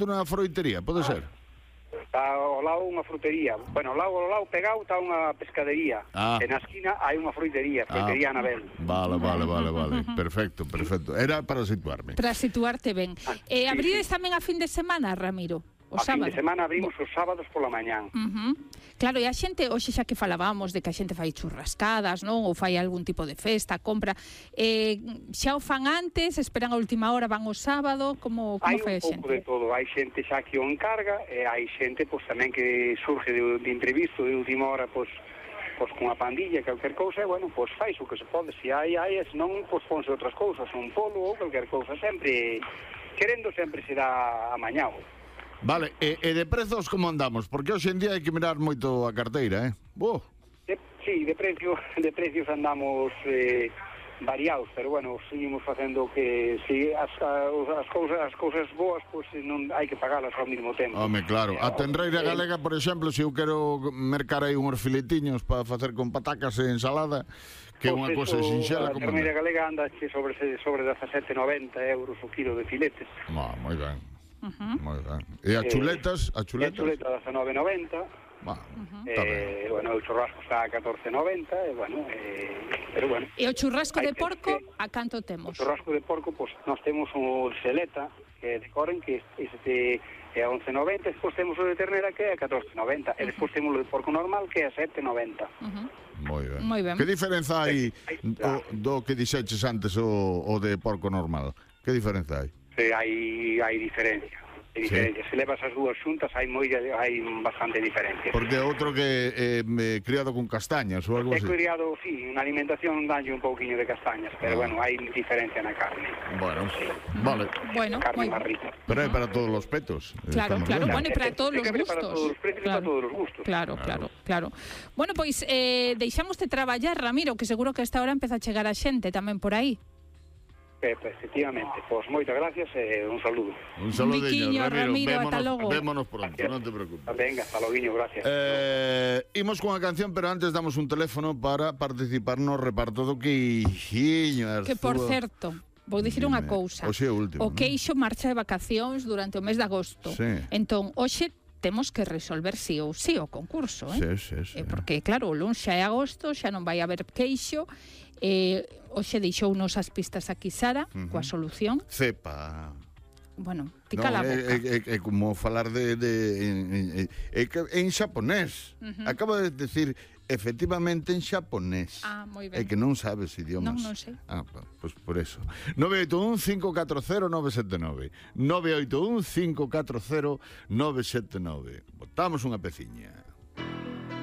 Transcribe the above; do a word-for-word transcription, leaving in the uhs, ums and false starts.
Dunha froitería, pode ser? Está ao lado unha frutería. Bueno, ao lado, ao lado pegado está unha pescadería. Ah. E na esquina hai unha froitería, froitería Ah. Anabel. Vale, vale, vale, vale. Perfecto, perfecto. Era para situarme. Para situarte ben. Ah, Eh, sí, abrides sí. tamén a fin de semana, Ramiro? O A fin sábado? de semana abrimos os sábados pola mañán. Uh-huh. Claro, e a xente, hoxe xa que falábamos de que a xente fai churrascadas, non? Ou fai algún tipo de festa, compra, eh, xa o fan antes, esperan a última hora, van o sábado, como, como Hai fai a un pouco xente? de todo, hai xente xa que o encarga e hai xente pois tamén que surge de, de imprevisto de última hora, pois pois cunha pandilla, calquer cousa, e bueno, pois fais o que se pode, se hai, hai, e senón, pois ponse outras cousas, un polo ou calquer cousa, sempre, querendo sempre será amañado. Vale, e, e de prezos como andamos? Porque hoxe en día hai que mirar moito a carteira, eh? Boh. De, sí, de precio, de precios andamos eh, variados, pero bueno, seguimos facendo que si as, as cousas as cousas boas, pois pues, non hai que pagalas ao mesmo tempo. Home, claro. A tenreira galega, por exemplo, se eu quero mercar aí uns filetiños para facer con patacas e ensalada, que é unha Pois cousa eso, sinxela a como terneira galega anda sobre sobre dezasete noventa euros o kilo de filetes. Ah, moi ben. Uh-huh. Moi ben. E as Eh, chuletas, as E a chuletas? chuleta dezanove noventa. Bah, Uh-huh. está ben. Eh, bueno, o churrasco está a catorce noventa, e bueno, eh, pero bueno. E o churrasco hai de que- porco, que- a canto O temos? churrasco de porco, pois pues, nós temos o seleta, que é de Coren, que este é a once noventa, despois temos o de ternera, que é a catorce noventa, e despois temos o de porco normal, que é a sete noventa. Uh-huh. Moi ben. Moi ben. Que diferenza hai Aí o, está. do que dixeches antes o, o de porco normal? Que diferenza hai? Sí, hai, hai diferencia. Hai diferencia. Se levas as dúas xuntas, hai moi hai bastante diferencia. Porque outro que eh, me criado con castañas ou algo É así. criado, sí, unha alimentación danlle un pouquiño de castañas, pero Ah. bueno, hai diferencia na carne. Bueno, vale. Bueno, Carne moi máis rica. Pero é para todos os petos. Claro, Estamos claro, vendo. bueno, e para todos Ten os que haber para gustos. todos os precios e para todos os gustos. Claro, claro, claro. Bueno, pois eh, deixámoste traballar, Ramiro, que seguro que a esta hora empeza a chegar a xente tamén por aí. Eh, pues, efectivamente, pois moitas gracias e un saludo. Un saludiño, Biquiño, Ramiro. Ramiro, ata Vémonos, logo. vémonos pronto, non te preocupes. Venga, hasta loguiño, gracias. Eh, imos con a canción, pero antes damos un teléfono para participar no reparto do queixiño. Que, por certo, vou dicir unha Dime. cousa. Hoxe é o último, O non? queixo marcha de vacacións durante o mes de agosto. Sí. Entón, hoxe temos que resolver sí ou sí o concurso, eh? Sí, sí, sí. Eh, porque, claro, o luns xa é agosto, xa non vai haber queixo. Eh, hoxe deixounos as pistas aquí Sara, uh-huh. coa solución. Cepa. Bueno, ti No, cala a é, boca. é, é, é como falar de, de en, en, en, en xaponés. Ujú. Acaba de decir efectivamente en xaponés. Ah, moi É ben. que non sabes idiomas. Non, non sei. Ah, pois pues por eso. nove oito un, cinco catro cero, nove sete nove. nove oito un, cinco catro cero, nove sete nove. Botamos unha peciña.